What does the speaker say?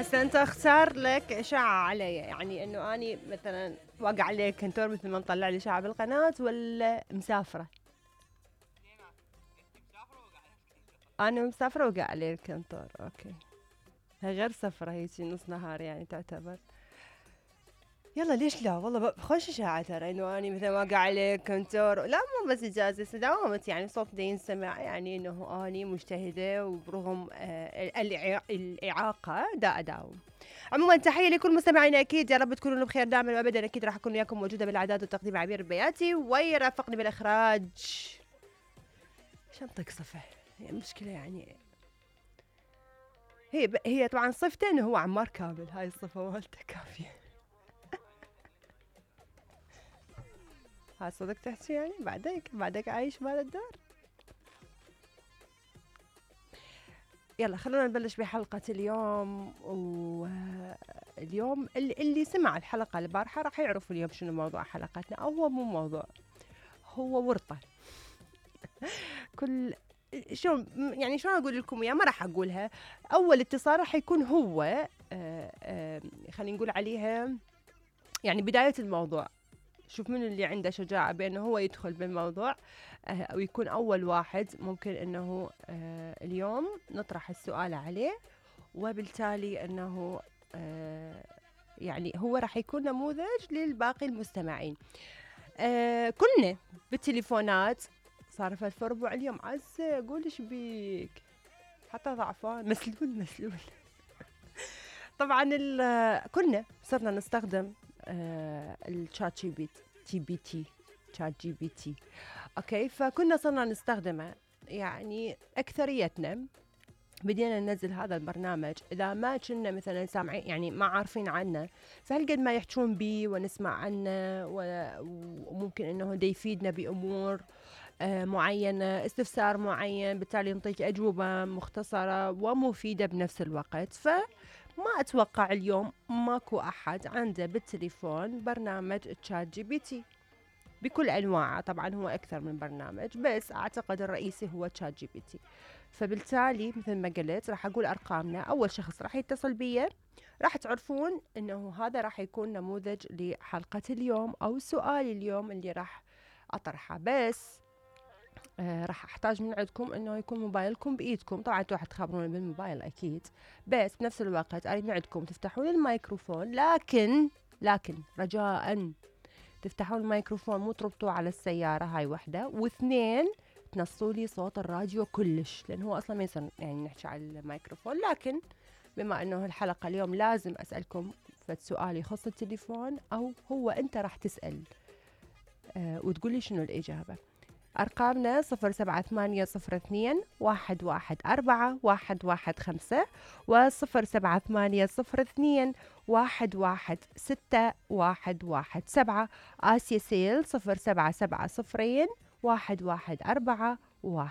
هسه انت اختار لك اشاعة علي، يعني انه اني مثلا واقع عليك كنتور مثل ما مطلع لي اشاعة بالقناة، ولا مسافرة؟ انا مسافرة وقع علي الكنتور. اوكي، هي غير سفرة، هيجي نص نهار يعني تعتبر. يلا ليش لا، والله خوش اشاعة ترى انه اني مثلا واقع عليك كنتور. لا مو بس اجازة، داومت يعني صوت دا ينسمع، يعني انه اني مجتهدة وبرغم الاعاقة دا اداوم. عموما تحية لكل مستمعينا أكيد، يا رب تكونوا بخير دائما وأبدا. أكيد راح أكون وياكم موجودة بالإعداد والتقديم عبير البياتي، ويرافقني بالإخراج شنطك صفة. يعني مشكلة يعني هي طبعا صفته إنه هو عمار كامل، هاي الصفة مالته كافية. هاي صدق تحكي يعني بعدك عايش مال الدار. يلا خلونا نبلش بحلقة اليوم. واليوم اللي سمع الحلقة البارحة راح يعرف اليوم شنو موضوع حلقتنا، أو هو مو موضوع، هو ورطة. كل شلون يعني شلون اقول لكم اياه، ما راح اقولها. اول اتصال راح يكون هو خلينا نقول عليها يعني بداية الموضوع. شوف من اللي عنده شجاعة بأنه هو يدخل بالموضوع أو يكون أول واحد. ممكن أنه اليوم نطرح السؤال عليه، وبالتالي أنه يعني هو راح يكون نموذج للباقي المستمعين. كلنا بالتليفونات صار في ربع اليوم. عزة قول ايش بيك، حتى ضعفان مسلول. طبعا كلنا صرنا نستخدم الشات جي بي تي. اوكي، فكنا صرنا نستخدمه، يعني اكثريتنا بدينا ننزل هذا البرنامج اذا ما كنا مثلا سامعين، يعني ما عارفين عنه، فهالقد ما يحجون بيه ونسمع عنه، وممكن انه ده يفيدنا بامور معينة، استفسار معين، بالتالي نعطيك أجوبة مختصرة ومفيدة بنفس الوقت. فما أتوقع اليوم ماكو أحد عنده بالتليفون برنامج تشات جي بي تي بكل أنواعه. طبعا هو أكثر من برنامج، بس أعتقد الرئيسي هو تشات جي بي تي. فبالتالي مثل ما قلت راح أقول أرقامنا. أول شخص راح يتصل بي راح تعرفون أنه هذا راح يكون نموذج لحلقة اليوم أو سؤال اليوم اللي راح أطرحه. بس راح احتاج من عندكم انه يكون موبايلكم بايدكم. طبعا انتوا راح تخابرون بالموبايل اكيد، بس بنفس الوقت اريد من عندكم تفتحون الميكروفون، لكن رجاء تفتحون الميكروفون، مو تربطوه على السيارة. هاي وحدة. واثنين، تنصوا لي صوت الراديو كلش، لان هو اصلا ما يصير يعني نحكي على الميكروفون. لكن بما انه الحلقة اليوم لازم اسألكم فد سؤال يخص التليفون، او هو انت راح تسأل وتقولي شنو الاجابة. أرقامنا 078021141115 و078021161117. آسيا سيل 077021141115.